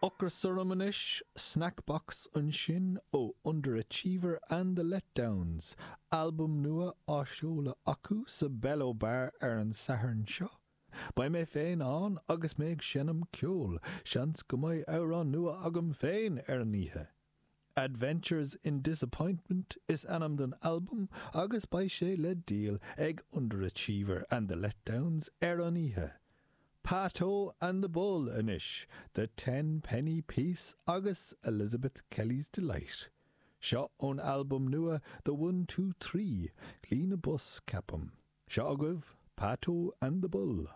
Ocras orm anois, Snack Box ansin ó Underachiever and the Letdowns, albam nua á seoladh acu sa Bello Bar ar an Satharn seo. Beidh mé féin ann agus mé ag seinm ceoil, seans go mbeidh amhrán nua agam féin ar an oíche. Adventures in Disappointment is ainm don albam agus beidh sé le díol ag Underachiever and the Letdowns ar an oíche. Patto and the Bull anois, The Ten Penny Piece agus Elizabeth Kelly's Delight. Seo ón albam nua The One Two Thrie, Shlí na bPus, ceapaim. Seo agaibh Patto and the Bull.